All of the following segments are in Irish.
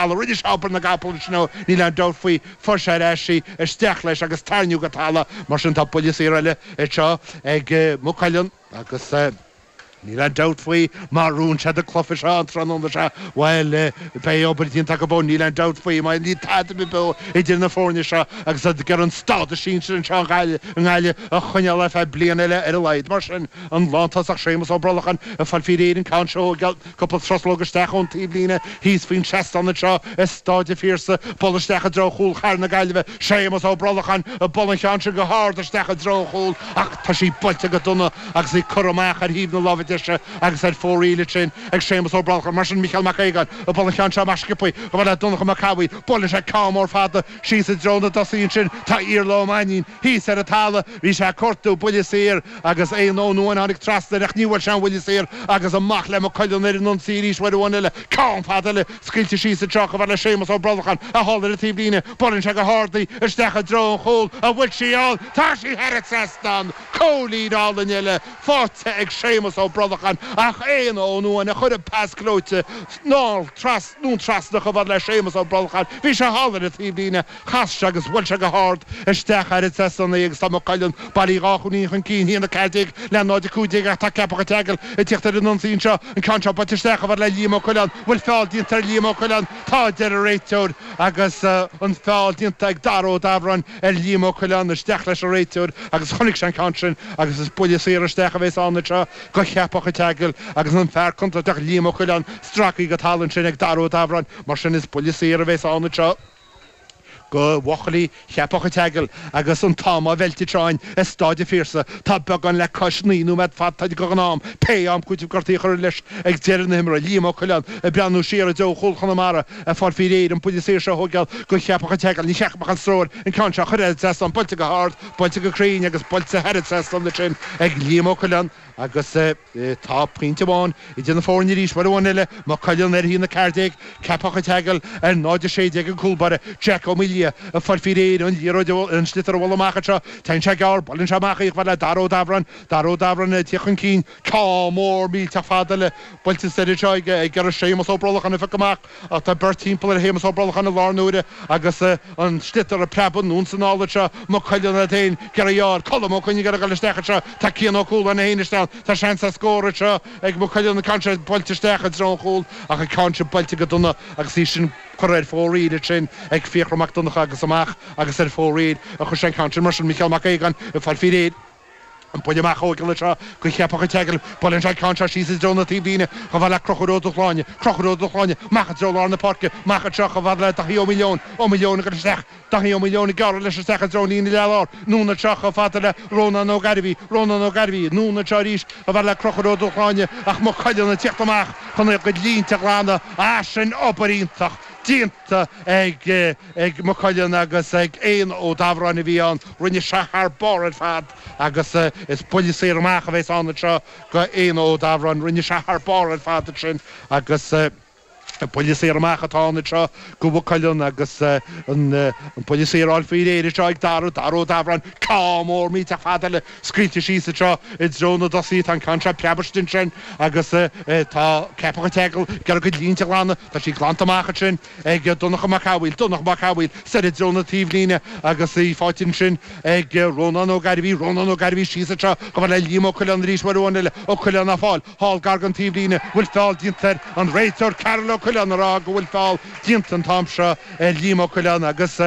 talamh. Rinne sé obair na gcapall ansin ó níl aon dabht faoi. Fuair sé ar ais í, isteach leis agus tarraingíodh go talamh. Mar sin tá buille saor eile anseo ag Maigh Cuilinn agus níl aon dabht faoi má bhuann siad an cluiche seo an tráthnóna seo, bhuel, beidh obair déanta acu ó níl aon dabht faoi mar níl tada ar bith beo idir na foirne seo agus iad ag iarraidh an stádas sinsir anseo i nGaillimh a choinneáil ar feadh bliain eile ar a laghad. Mar sin, an lántosach Séamus Ó Brolacháin ag fáil faoi réir an ceann seo a thógáil. Cúpla truslóg isteach ón taobhlíne thíos faoin seastán anseo i Stáid an Phiarsaigh. Bualadh isteach i dtreo chúl chathair na Gaillimhe. Séamus Ó Brolacháin ag bualadh an cheann sin go hard isteach i dtreo an chúil ach tá sí buailte go dona agus í curtha amach ar thaobh na láimhe deise agus ar fóraoil ansin ag Séamus Ó Brolacháin. Mar sin Micheál Mac Aogáin ag bualadh an cheann seo amach sciobthaí chomh fada le Donncha Mac Cathmhaoil. Buaileann sé ceann mór fada síos i dtreo na dtosaithe ansin. Tá Iarla Ó Mainnín thíos ar an talamh. Bhí sé ag cuartú buille saor agus Éanna Ó Nuáin tháinig trasna air ach ní bhfuair sé an buille saor agus amach le Maigh Cuilinn ar an ionsaí arís uair amháin eile. Ceann fada eile scaoilte síos anseo chomh fada le Séamus Ó Brolacháin thall ar an taobhlíne. Buaileann sé go hard í isteach i dtreo an chúil. An bhfuil sí ann? Tá sí thar an trasnán! Cúilín álainn eile faighte ag Séamus Ó Brolacháin ach Éanna Ó Nuáin a chuir an pas gleoite anonn trasna chomh fada le Séamus Ó Brolacháin. Bhí sé thall ar an taobhlíne. Chas sé agus bhuail sé go hard isteach thar an trasnán í agus tá Maigh Cuilinn bailithe 2 chúilín chun cinn, 1-14 le 0-15 ach tá Ceapach an tSeagail ag tíocht ar an ionsaí anseo. An ceann seo buailte isteach chomh fada le Liam Ó Coileáin. Bhfuil feall déanta ar Liam Ó Coileáin? Tá, a deir an réiteoir agus an feall déanta ag Dara Ó Dabhráin ar Liam Ó Coileáin. Isteach leis an réiteoir agus chonaic sé an ceann sin agus is buille saor isteach a bheas ann anseo go Cheapach an tSeagail agus an fear contúirteach Liam Ó Coileáin stractha go talamh ansin ag Dara Ó Dabhráin. Mar sin is buille saor a bheas ann anseo. go bhuachaillí Cheapach an tSeagail agus an t-am á mheilt anseo againn i Stáid an Phiarsaigh. Tá beagán le cois 9 nóiméad fanta den am, pé am cúitimh gortaithe a chur leis ag deireadh na himeartha. Liam Ó Coileáin ag breathnú siar i dtreo chúl Chonamara ag fáil faoi réir an buille saor seo a thóigeáil go Cheapach an tSeagail. Ní cheapfadh an stró air an ceann seo a chur thar an trasnán, buailte go hard, buailte go cruinn agus buailte thar an trasnán ansin ag Liam Ó Coileáin agus. Tá pointe amháin idir na foirne arís, uair amháin eile, Maigh Cuilinn ar 1-14, Ceapach an tSeagail ar 0-16 an cúl báire, Jack Ó Maoildhia ag fáil faoi réir an liathróid an sliotar a bhualadh amach anseo. Téann sé gearr, buaileann sé amach í chomh fada le Dara Ó Dabhráin. Dara Ó Dabhráin ag tíocht chun cinn. Ceann mór millteach fada eile buailte soir anseo ag iarraidh Séamus Ó Brolacháin a phiocadh amach ach tá beirt timpeall ar Shéamus Ó Brolacháin i lár na huaire agus an sliotar ag preabadh anonn is anall anseo. Maigh Cuilinn iad féin ag iarraidh í a fháil. Colm Ó Coinn ag iarraidh dul isteach anseo. Tá Cian Ó Cualáin é féin isteach. Tá seans ar scór anseo ag Maigh Cuilinn, an ceann seo buailte isteach i dtreo an chúil ach an ceann sin buailte go dona agus í sin curtha ar fóraoil ansin ag Fiachra Mac Donncha agus amach agus ar fóraoil a chuir sé an ceann sin. Mar sin Micheál Mac Aogáin ag fáil faoi réir an buille amach a thóigeáil anseo go Cheapach an tSeagail. Buaileann sé an ceann seo síos i dtreo na taobhlíne chomh fada le Conchúr Ó Dúshláine. Conchúr Ó Dúshláine amach i dtreo lár na páirce, amach anseo chomh fada le Daithí Ó Maoileoin. Ó Maoileoin ag dul isteach. Daithí Ó Maoileoin ag gearradh leis isteach i dtreo an líne leath-lár. Anonn anseo chomh fada le Rónán Ó Gairbhí. Rónán Ó Gairbhí. Anonn anseo arís chomh fada le Conchúr Ó Dúshláine ach Maigh Cuilinn ag tíocht amach chun a gcuid línte a ghlanadh. Ah sin obair iontach déanta ag ag Maigh Cuilinn agus ag Éanna Ó Dabhráin a bhí ann. Rinne sé thar barr ar fad agus is buille saor amach a bheas ann anseo go Éanna Ó Dabhráin. Rinne sé thar barr ar fad ansin agus. Buille saor amach atá ann anseo go Mhaigh Cuilinn agus an buille saor á fháil faoi réir anseo ag Dara, Dara Ó Dabhráin, ceann mór millteach fada eile scaoilte síos anseo i dtreo na dtosaithe. Tá an ceann seo preabtha ansin agus tá Ceapach an tSeagail ag iarraidh a gcuid línte a ghlanadh. Tá sí glanta amach ansin ag Donncha Mac Cathmhaoil, Donncha Mac Cathmhaoil soir i dtreo na taobhlíne agus í faighte ansin ag Rónán Ó Gairbhí, Rónán Ó Gairbhí síos anseo chomh fada le Liam Ó Coileáin arís uair amháin eile. Ó Coileáin á fáil. Thall gar don taobhlíne, bhfuil feall déanta air, an réiteoir Karol Ó Coileáin ag rá go bhfuil feall déanta an t-am seo ar Liam Ó Coileáin agus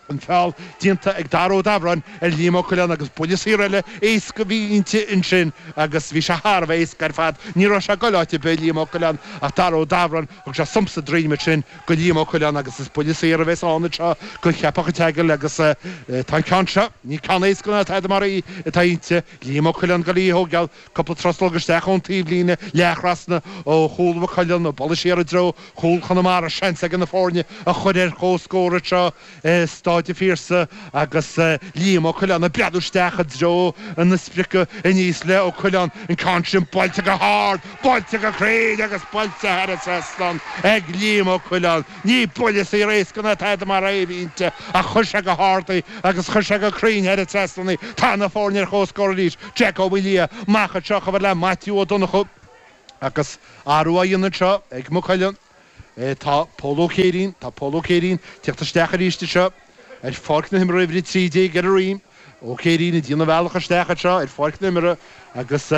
an feall déanta ag Dara Ó Dabhráin ar Liam Ó Coileáin agus buille saor eile éasca a bhí inti ansin agus bhí sé thar a bheith éasca ar fad. Ní raibh sé ag goil áit ar bith, Liam Ó Coileáin, ach Dara Ó Dabhráin, thug sé sump sa droim ansin go Liam Ó Coileáin agus is buille saor a bheas ann anseo go Cheapach an tSeagail agus tá an ceann seo, ní ceann éasca ná tada mar í atá inti, Liam Ó Coileáin ag goil í a thóigeáil. Cúpla truslóg isteach ón taobhlíne, leath-thrasna ó chúl Mhaigh Cuilinn, bualadh siar i dtreo chúl Chonamara. Seans ag na foirne a chur ar comhscór anseo i Stáid an Phiarsaigh agus Liam Ó Coileáin ag breathnú isteach i dtreo na sprice aníos le Ó Coileáin, an ceann sin buailte go hard, buailte go cruinn agus buailte thar an trasnán ag Liam Ó Coileáin. Ní buille saor éasca ná tada mar é a bhí inti ach chuir sé go hard í agus chuir sé go cruinn thar an trasnán í. Tá na foirne ar comhscór arís. Jack Ó Maoildhia amach anseo chomh fada le Maitiú Ó Donnchú agus athrú á dhéanamh anseo ag Maigh Cuilinn. Tá Pól Ó Céirín, tá Pól Ó Céirín ag teacht isteach arís anseo ar pháirc na himeartha, uimhir 13 ar a dhroim. Ó Céirín ag déanamh a bhealach isteach anseo ar pháirc na himeartha agus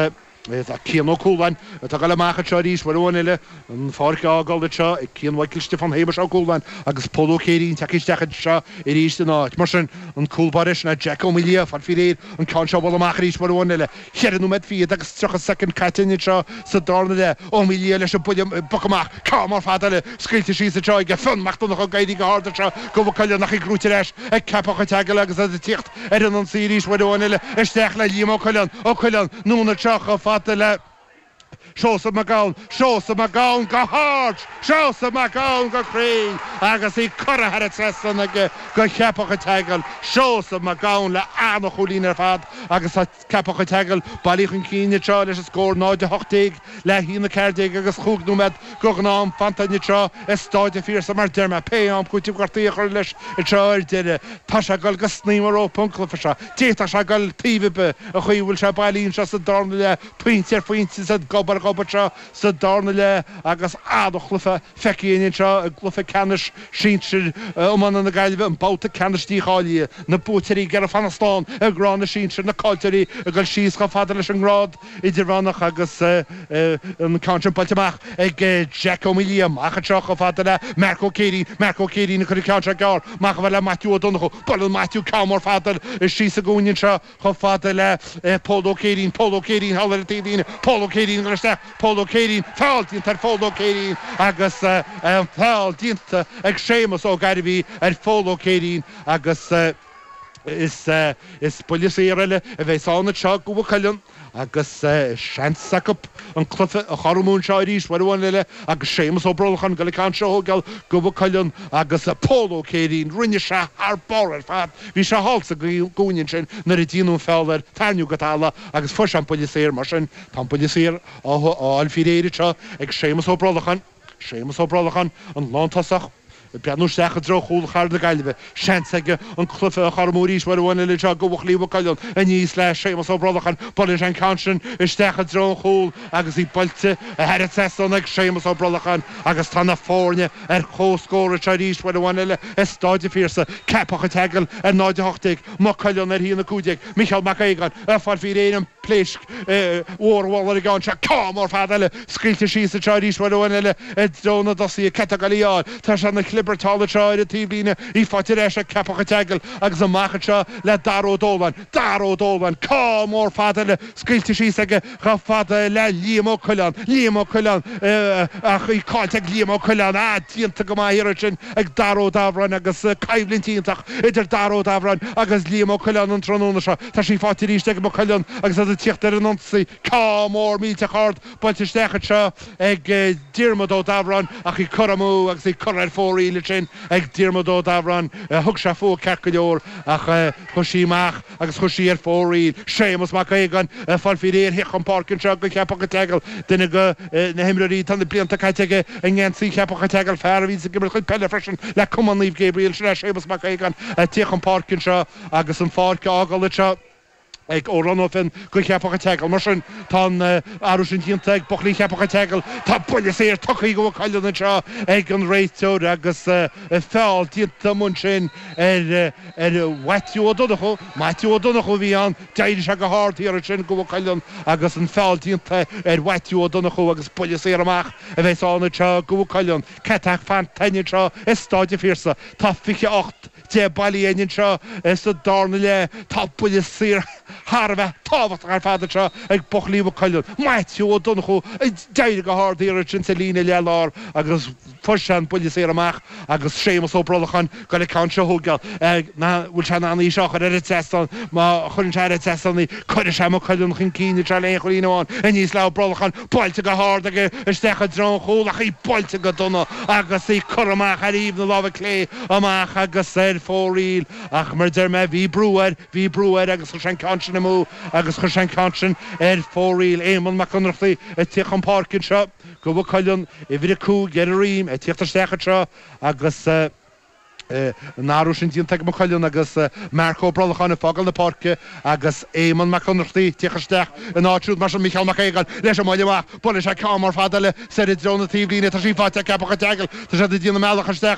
tá Cian Ó Cualáin atá ag dul amach anseo arís uair amháin eile, an pháirc a fhágáil anseo ag Cian Mhichael Stiofán Shéamais Ó Cualáin agus Pól Ó Céirín tagtha isteach anseo arís ina áit. Mar sin, an cúl báire sin é Jack Ó Maoildhia, fáil faoi réir an ceann seo a bhualadh amach arís uair amháin eile. Cheithre nóiméad fichead agus 30 soicind caite anseo sa darna leath. Ó Maoildhia leis an buille poc amach. Ceann mór fada eile scaoilte síos anseo aige. Fionn Mac Donncha ag éirí go hard anseo do Mhaigh Cuilinn ach í gnóite ar ais ag Ceapach an tSeagail agus iad ag tíocht ar an ionsaí arís uair amháin eile isteach le Liam Ó Coileáin. Ó Coileáin anonn anseo chomh fada le Seosamh Mac Gabhann, Seosamh Mac Gabhann go hard, Seosamh Mac Gabhann go cruinn agus í curtha thar an trasnán aige go Cheapach an tSeagail, Seosamh Mac Gabhann le an-chúilín ar fad agus tá Ceapach an tSeagail bailithe chun cinn anseo leis an scór 0-18 le 1-14 agus chúig nóiméad go ghnáth-am fanta anseo i Stáid an Phiarsaigh mar deir mé pé am cúitimh gortaithe a chur leis anseo ar deireadh. Tá sé ag dul go snaidhm an rópa an cluiche seo. D'fhéadfadh sé dul taobh ar bith an chaoi a bhfuil sé bailithe anseo sa darna leath. Pointe ar phointe is gob ar ghob anseo sa darna leath agus an-chluiche feicthe againn anseo i gcluiche ceannais sinsir iomána na Gaillimhe, an babhta ceannais dícháilithe. Na buaiteoirí ag iarraidh fanacht slán i ngrád na sinsear, na caillteoirí ag dul síos chomh fada leis an ngrád idirmheánach agus an ceann sin buailte amach ag Jack Ó Maoildhia. Amach anseo chomh fada le Marc Ó Céirín, Marc Ó Céirín ag cur an ceann seo gearr amach chomh fada le Maitiú Ó Donnchú. Buaileann Maitiú ceann mór fada síos sa gcúinne anseo. Chomh fada le Pól Ó Céirín, Pól Ó Céirín thall ar an taobhlíne, Pól Ó Céirín ag dul isteach, Pól Ó Céirín, feall déanta ar Phól Ó Céirín agus an feall déanta ag Séamus Ó Gairbhí ar Phól Ó Céirín agus is is buille saor eile a bheas ann anseo go Mhaigh Cuilinn. Agus seans acu an cluiche a chothromú anseo arís uair amháin eile agus Séamus Ó Brolcháin ag dul an ceann seo a thógáil go Mhaigh Cuilinn agus Pól Ó Céirín, rinne sé thar barr ar fad, bhí sé thall sa gcúinne ansin nuair a déanadh an feall air, tarraingíodh go talamh agus fuair sé an buille saor, mar sin tá an buille saor á fháil faoi réir anseo ag Séamus Ó Brolcháin. Séamus Ó Brolcháin, an lántosach, ag breathnú isteach i dtreo chúl chathair na Gaillimhe. Seans aige an cluiche a chothromú arís uair amháin eile anseo do bhuachaillí Mhaigh Cuilinn. Aníos le Séamus Ó Brolcháin. Buaileann sé an ceann sin isteach i dtreo an chúil agus í buailte thar an trasnán ag Séamus Ó Brolcháin agus tá na foirne ar comhscór anseo arís uair amháin eile i Stáid an Phiarsaigh. Ceapach an tSeagail ar 0-18, Maigh Cuilinn ar 1-15. Micheál Mac Aogáin ag fáil faoi réir an pléisc mhór a bhualadh ar an gceann seo. Ceann mór fada eile scaoilte síos anseo arís uair amháin eile i dtreo na dtosaithe. Cé atá ag dul í a fháil? Tá sé ina chlibirt thall anseo ar an taobhlíne. Í faighte ar ais ag Ceapach an tSeagail agus amach anseo le Dara Ó Dóláin. Dara Ó Dóláin! Ceann mór fada eile scaoilte síos aige chomh fada le Liam Ó Coileáin. Liam Ó Coileáin ach í caillte ag Liam Ó Coileáin. Ah, déanta go maith thiar ansin ag Dara Ó Dabhráin agus coimhlint iontach idir Dara Ó Dabhráin agus Liam Ó Coileáin an tráthnóna seo. Tá sí faighte arís ag Maigh Cuilinn agus iad ag tíocht ar an ionsaí. Ceann mór millteach ard buailte isteach anseo ag Diarmuid Ó Dabhráin ach í curtha amú agus í curtha ar fóraoil ansin ag Diarmuid Ó Dabhráin. Thug sé fúithi ceart go leor ach chuaigh sí amach agus chuaigh sí ar fóraoil. Séamus Mac Aogáin ag fáil faoi réir theacht chun páirce anseo do Cheapach an tSeagail, duine de na himreoirí atá na blianta caite aige i ngeansaí Cheapach an tSeagail, fear a bhíonns ag imirt chuid peile freisin le Cumann Naomh Gabriel. Sin é Séamus Mac Aogáin ag tíocht chun páirce anseo agus an pháirc á fhágáil anseo ag Odhrán Ó Finn do Cheapach an tSeagail. Mar sin, tá an athrú sin déanta ag buachaillí Cheapach an tSeagail. Tá buille saor tugtha do Mhaigh Cuilinn anseo ag an réiteoir agus feall déanta amuigh ansin ar ar Mhaitiú Ó Donnchú. Maitiú Ó Donnchú a bhí ann. D'éirigh sé go hard thiar ansin do Mhaigh Cuilinn agus an feall déanta ar Mhaitiú Ó Donnchú agus buille saor amach a bheas ann anseo do Mhaigh Cuilinn. Cé atá fanta anseo i Stáid an Phiarsaigh? Tá 28 10 bailithe againn anseo sa darna leath. Tá buille saor thar a bheith tábhachtach ar fad anseo ag buachaillí Mhaigh Cuilinn. Maitiú Ó Donnchú ag d'éirigh go hard thiar ansin sa líne leath-lár agus fuair sé an buille saor amach agus Séamus Ó Brolcháin ag dul an ceann seo a thógáil. An bhfuil sé in ann í seo a chur ar an trasnán? Má chuireann sé ar an trasnán í, cuirfidh sé Maigh Cuilinn chun cinn anseo le haon chúilín amháin. Aníos le Ó Brolcháin, buailte go hard aige isteach i dtreo an chúil ach í buailte go dona agus í curtha amach ar thaobh na láimhe clé amach agus ar fóraoil ach mar a deir mé bhí brú air, bhí brú air agus chuir sé an ceann sin amú agus chuir sé an ceann sin ar fóraoil. Éamonn Mac Ionnrachtaigh ag tíocht chun páirce anseo do Mhaigh Cuilinn, uimhir 5 ar a dhroim, ag tíocht isteach anseo agus. An athrú sin déanta ag Maigh Cuilinn agus Marc Ó Brolcháin ag fágáil na páirce agus Éamonn Mac Ionnrachtaigh ag tíocht isteach ina áit siúd. Mar sin Mícheál Mac Aogáin leis an mbuille amach. Buaileann sé ceann mór fada eile soir i dtreo na taobhlíne. Tá sí faighte ag Ceapach an tSeagail. Tá siad ag déanamh a mbealach isteach.